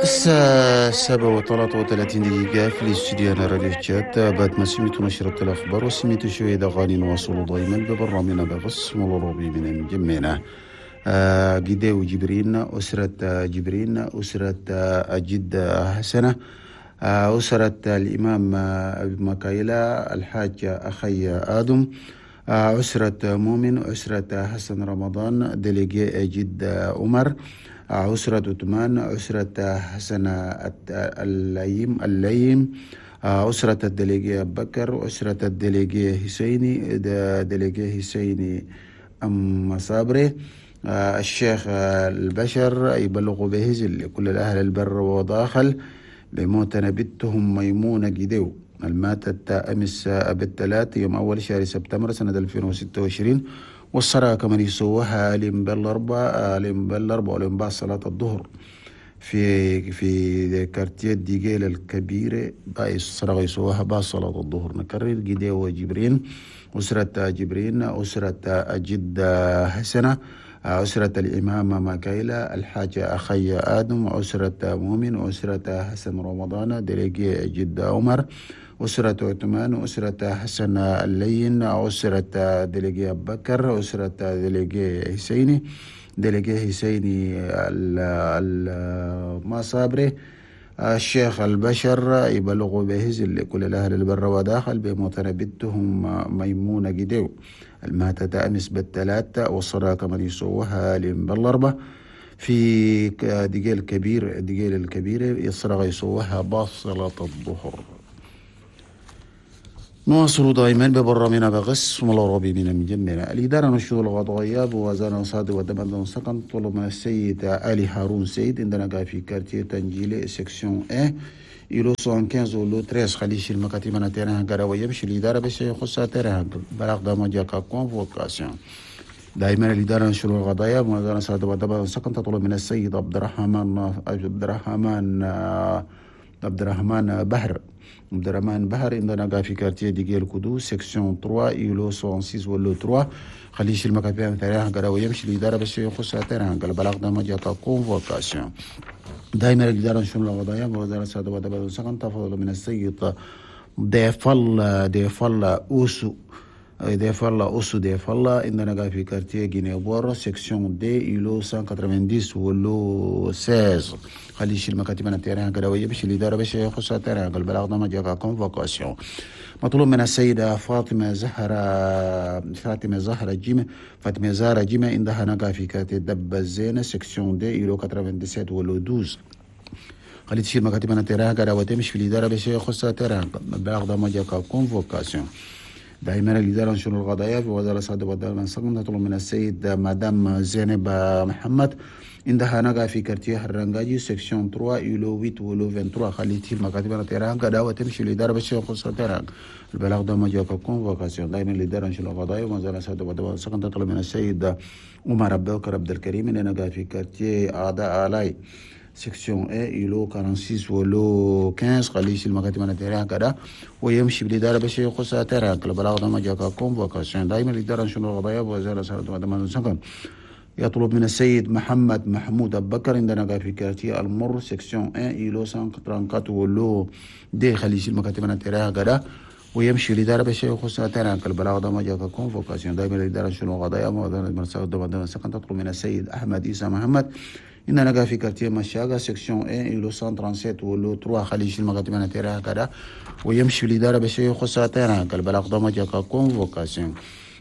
الساعة 7:33 في الاستوديو أنا راديو تشات. بعد ما سمعتوا نشرة الأخبار وسمعتوا شوية أغاني، نواصلوا دائما ببرنامجنا بغص الروبي من مجمعنا. جديو جبرين، أسرة جبرين، أسرة الجد حسنة، أسرة الإمام أبي مكايلة، الحاج أخي آدم، أسرة مؤمن، أسرة حسن رمضان، délégué جد عمر، أسرة عثمان، أسرة حسن الليم، أسرة ال délégué بكر، أسرة ال délégué حسيني، délégué حسيني أم صابري، الشيخ البشر يبلغ به لكل الأهل البر وداخل بموتنا بنتهم ميمونة جديو الماتت أمس بالثلاث يوم أول شهر سبتمبر سنة 2026، والصلاة كمان يسووها لم بالأربعة ولم بعد صلاة الظهر في quartier ديجيل الكبيرة. باقي الصلاة يسووها بعد صلاة الظهر. نكرر: جديو جبرين، أسرة جبرين، أسرة الجد حسنة، أسرة الإمام ماكايلا، الحاج أخي آدم، أسرة مؤمن، أسرة حسن رمضان، délégué جد عمر، أسرة عثمان، أسرة حسن اللين، أسرة délégué بكر، أسرة délégué حسيني، délégué حسيني المصابري، الشيخ البشر يبلغ به لكل الأهل البر وداخل بموت بنتهم ميمونة جديو الماتت أمس بالثلاثة، والصلاة كمان يسووها بالأربعة في دقيل الكبير، دقيل الكبيرة، الصلاة يسووها بصلاة الظهر. نواصل دائما ببرنامجنا بغس العربي من مجمنا. الإدارة نشور القضائية بوزارة صاد ودمد سكن طلب من السيد علي هارون سيد عندنا في quartier تنجيلي section 1 îlot 75 و lot 13، خلي يشيل مكاتب انا terrain حقه ويمشي الإدارة بس يخص terrain. بلاغ ده ما convocation. دائما الإدارة نشر القضايا بوزارة صاد ودمد سكن تطلب من السيد عبد الرحمن بحر، عبد الرحمن بحر عندنا في quartier ديجيل كودو section 3 îlot 66 و lot 3، خليه يشيل مكاتب terrain حقه ويمشي الإدارة بس يخص terrain. البلاغ ده ما convocation. دائما الإدارة نشر القضايا بوزارة السادة ودبل سكن تفضل من السيد ضيف الله، ضيف الله أوسو، ضيف الله أوسو ضيف الله عندنا في quartier جينيبور section deux îlot 190 و lot 16، خليه يشيل مكاتب terrain حقه ويمشي الإدارة باش يخص terrain. البلاغ ده ما جاك convocation. مطلوب من السيدة فاطمة زهرة، فاطمة زهرة جيمة، فاطمة زهرة جيمة عندها نقا في quartier دب الزينة section deux îlot 97 و lot 12، خلي تشيل مكاتب terrain حقه وتمشي في الإدارة باش يخص terrain. البلاغ ده ما جاك convocation. دائما الإدارة نشر القضايا في وزارة الصحة والدولة نطلب من السيد مدام زينب محمد عندها نقا في quartier الرنجاجي section 3 îlot 8 و lot 23، خلي تشيل مكاتب terrain حقه وتمشي الإدارة باش يخص terrain. البلاغ ده ما جاك convocation. دائما الإدارة نشر القضايا وزارة الصحة والدولة تطلب من السيد عمر عبد بكر عبد الكريم نقا في quartier أعداء آلاي section A îlot 46 و lot 15، خليه يشيل مكاتب terrain حقه ويمشي بالإدارة باش يخص terrain. البلاغ ده ما جاك convocation. دائما الإدارة نشر القضايا وزارة الصحة والدولة يطلب من السيد محمد محمود أبو بكر عندنا في quartier المر section 1 îlot 134 و lot deux، خليه يشيل مكاتب terrain حقه ويمشي الإدارة باش يخص terrain. البلاغ ده ما جاك convocation. دائما الإدارة شنو قضايا تطلب من السيد أحمد عيسى محمد عندنا في quartier مشاغا section 1 îlot 137 و lot 3، خليه يشيل مكاتب terrain حقه ويمشي الإدارة باش يخص terrain. البلاغ ده ما جاك convocation.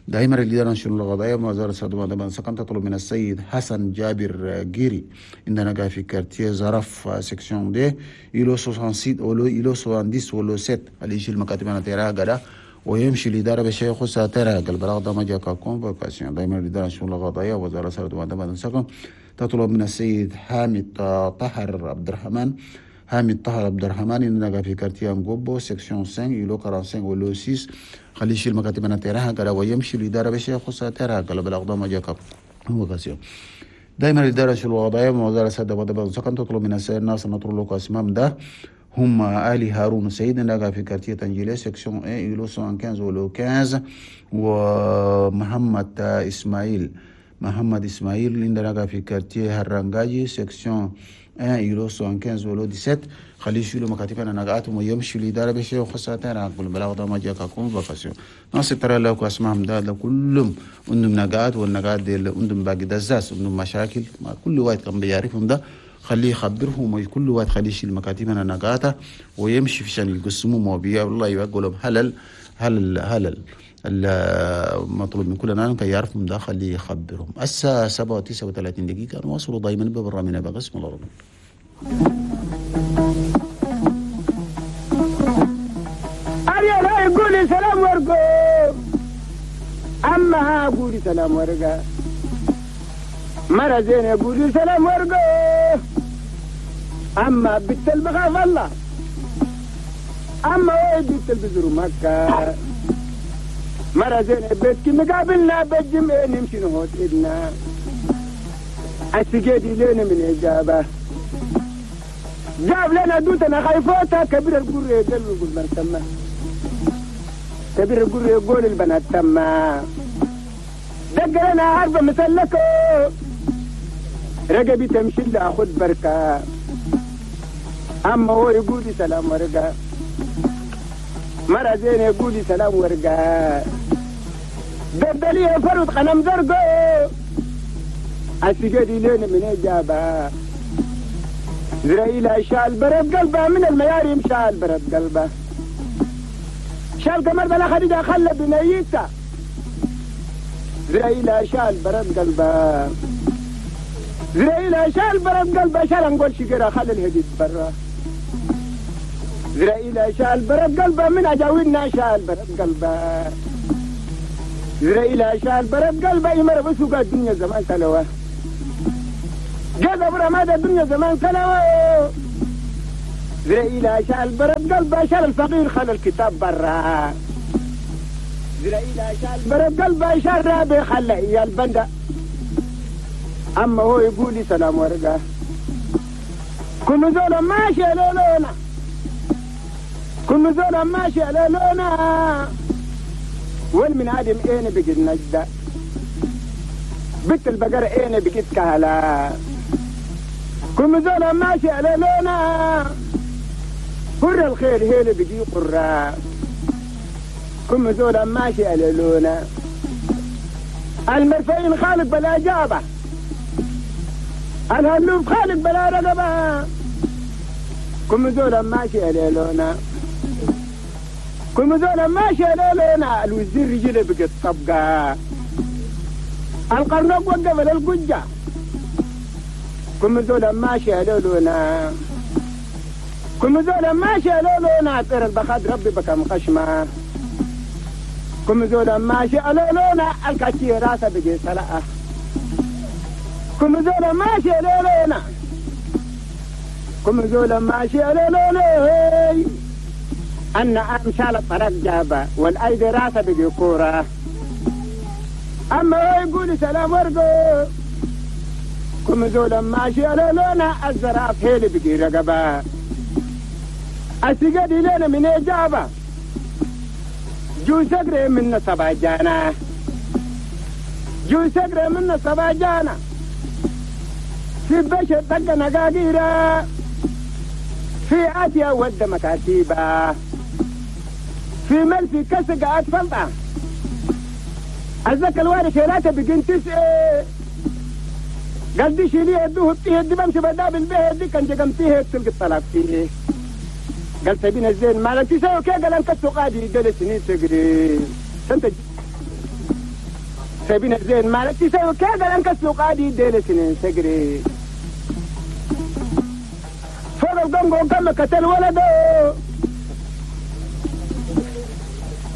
دائما الإدارة نشر القضايا وزارة الصحة سكن تطلب من السيد حسن جابر جيري عندنا في quartier زرف section deux îlot 66 و lot îlot 70 و lot 7، اللي يشيل مكاتب terrain حقه ويمشي الإدارة بشيء يخص terrain. البلاغ ده ما جاك convocation. دائما الإدارة نشر القضايا وزارة الصحة سكن تطلب من السيد حامد طهر عبد الرحمن، حامد طاهر عبد الرحمن عندنا في quartier انغوبو section 5 îlot 45 و lot 6، خليه يشيل مكاتب terrain حقه ويمشي الإدارة بشيء يخص terrain. البلاغ ده ما جاك convocation. دائما الإدارة الوضعية وزارة السادة ودبل سكن تطلب من السيد الناس نطلب لك اسمام ده هم آلي هارون سيد نلقى في quartier تنجيلي section 1 îlot 115 و lot 15، ومحمد إسماعيل، محمد اسماعيل عندنا في quartier هرانجاجي section 1 îlot 75 ولا 17 خليه يشيلوا مكاتبنا نقاتهم ويمشوا لإدارة بشيء وخاصة نقول بلاغ ده ما جاك convocation ناس ترى لو اسمعهم ده كلهم عندهم نقات والنقات دي عندهم باقي دزاس عندهم مشاكل ما كل واحد كان بيعرفهم ده خليه يخبرهم وكل واحد خليه يشيل مكاتبنا نقاته ويمشي في شان يقسموا موبيا والله يقول لهم هلل هلل هلل المطلوب من كل نان كي يعرفهم ده خليه يخبرهم. الساعة 7:39 نواصلوا دائما ببرنامجنا بقسم الأرض. أريا قولي سلام ورقو أما قولي سلام ورقة مرة زين قولي سلام ورقو أما بنت البخاف الله أما وين بنت البزر مكة مرة زين بيتك مقابلنا بالجمع نمشي نهوت إدنا السجادي لنا من إجابة جاب لنا دوتنا خايفوتا كبير القرية يقول من تما كبير القرية يقول البنات تما دق لنا عربة مسلكة رقبي تمشي لأخذ بركة أما هو يقول سلام ورقة مرة زين يقول سلام ورقة دبليه فرد قنم زرقو السجادي لين من إجابة زرائيل شال برد قلبه من المياريم شال برد قلبه شال قمر بلا خديجة خلى بنيته زرائيل شال برد قلبه زرائيل شال برد قلبه شال نقول شجرة خلى الهديد برا زرائيل شال برد قلبه من أجاوينا شال برد قلبه زرائيل شال برد قلبه يمر بسوق الدنيا زمان تلوه جذب رماد الدنيا زمان تلوه زرائيل شال برد قلبه شال الفقير خلى الكتاب برا زرائيل شال برد قلبه شال رابي خلى إيا البندة أما هو يقول لي سلام ورقة كل زول ماشي لولونا كل زول ماشي على لونا والمن عدم اين بقيت نجدة بنت البقرة اين بقيت كهلا كل زول ماشي على لونا قر الخير هيل بقي قرة كل زول ماشي على لونا المرفعين خالق بلا جابة الهلوب خالق بلا رقبة كل زول ماشي على لونا كل زول ماشي على لونا الوزير رجله بقت طبقة القرنوق وقف للقجة كل زول ماشي على لونا كل زول ماشي على لونا طير البخاد ربي بكم خشمة كل زول ماشي على لونا الكاتي راسه بقي سلقة كل زول ماشي على لونا كل زول ماشي على لونا أن أمشال الطريق جابة والأيدي راسه بقي كورة أما هو يقول سلام ورقو كم زول ماشي على لونا الزراف هيلي بقي رقبة السجاد لنا من إجابة جو سقري من سبع جانا جو سقري من سبع جانا في بشر طق نقاقيرة في آسيا ود مكاتيبة في ملفي كسق أطفالها الزكا الواري شيلاته بقين تسعة قال دي شيليه يدوه بتيه دي بمشي بدابل به دي كان جقمتيه تلقى الطلاق فيه قال سبين الزين مالك تساوي كي قال انك قادي قال سنين تقري سنت سبين الزين مالك تساوي كي قال انك قادي ديل سنين تقري فوق القنقو كم قتل ولده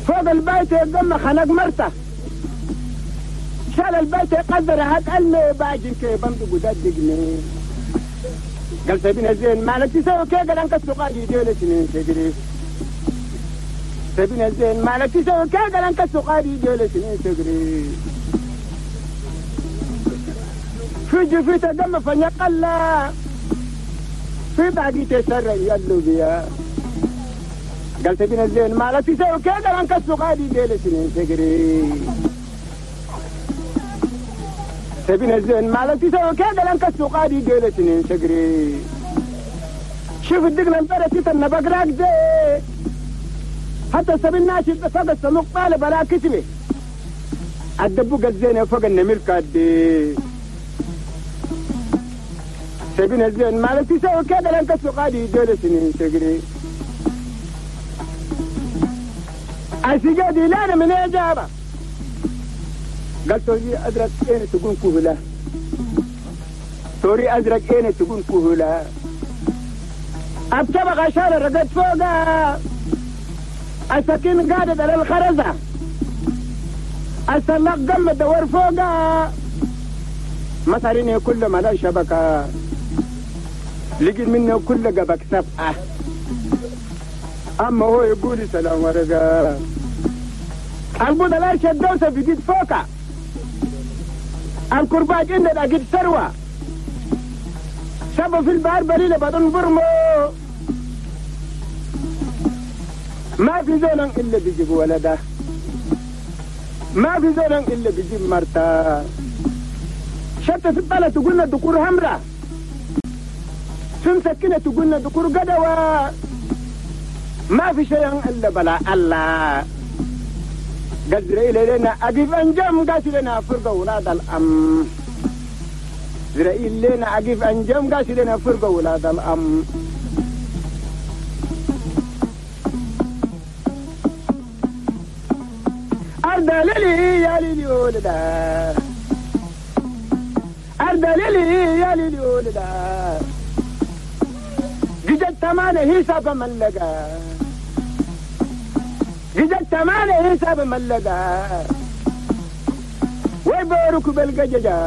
فوق البيت يقم خنق مرته شال البيت يقدر هات قال باجن كي بمد قداد دقني قال سبين الزين مالك تساوي كي قال انك سقادي ديل سنين تجري سبين الزين مالك تساوي كي قال انك سقادي ديل سنين تجري في جفيته دم فنقلا في باقي تسرع يلو بيا قال سبين الزين مالك تساوي كي قال انك سقادي ديل سنين تجري سبين الزين مالك تسوي كذا لانك السوقادي قالت شقري شوف الدقن البرة تتنى بقراك زي حتى سبيل ناشد فوق السموق طالب بلا كتبه الدبوق الزينة فوق النميل كادي سبين الزين مالك تسوي كذا لانك السوقادي قالت شقري السجادي لا من إجابة قال توري أزرق إيه تكون كهلا توري أزرق إيه تكون كهلا أبتبغ عشان رقد فوقها السكين قادت على الخرزة السلاق قم الدور فوقها مصاريني كل ما لا شبكة لقيت منه كل قبك سبعة أما هو يقول سلام ورقة البوضة لا شدوسة بجد فوقها الكرباج عندنا قد ثروة سبب في البحر بليلة بدون برمو ما في زول إلا بيجيب ولده ما في زول إلا بيجيب مرته شتى في البلد تقولنا دكور همرة في مسكنة تقولنا دكور قدوة ما في شيء إلا بلا الله قدر إلينا أقف أنجم قاسي لنا فرقة ولاد الأم إسرائيل لنا أقف أنجم قاسي لنا فرقة ولاد الأم أرض ليلي يا ليلي ولدا أرض ليلي يا ليلي ولدا قجت تمانة حساب من لقى قجت تمانة حساب من لقى ويبارك بالقججة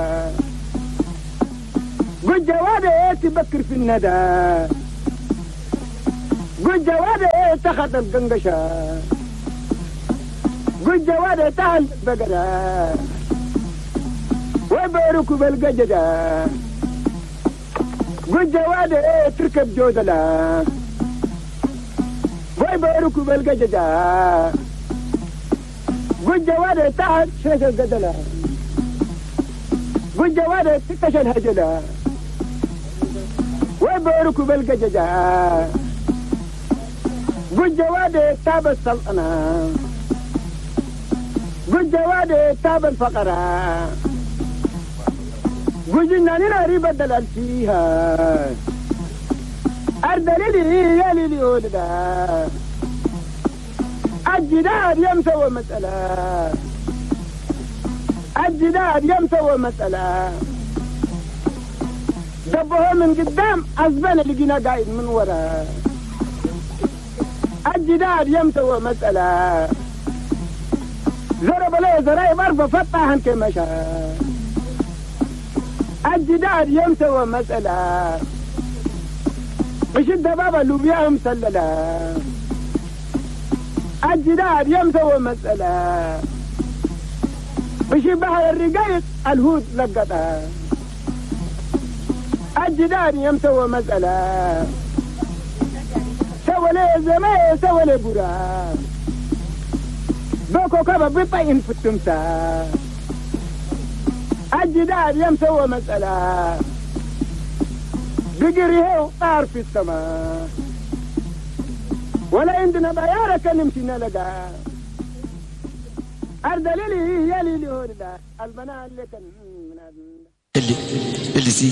قد جوابي تبكر في الندى قد جوابي تخط القنقشة قد جوابي تهل بقرة ويبارك بالقججة قد جوابي تركب جودلة ويبارك بالقججة قد جوابي تهل شرش القدلة قد جوابي تكش الهجلة ويبارك بالقججة قد جوابي تاب السلطنة قد جوابي تاب الفقرة قد جناننا ريب الدلال فيها أرض ليلي يا ليلي ولدا الجدار يمسوى مسألة الجدار يمسوى مسألة دبوه من قدام أزبان لقينا قاعد من ورا الجدار يمسوى مسألة ضرب له زرايب أربع فتحن كما شاء الجدار يمسوى مسألة مش الدبابة لوبيا مسللة الجدار يمسوى مسألة مش بحر الرقايق الهود لقطها الجدار يمسوى مسألة سوى لي زمان سوى لي برا بوكو كبا بيطين في التمساح الجدار يمسوى مسألة بقريه طار في السماء ولا عندنا بيارة كنمشي نلقى أرض ليلي يا ليلي هوردا البنات اللي كان اللي سي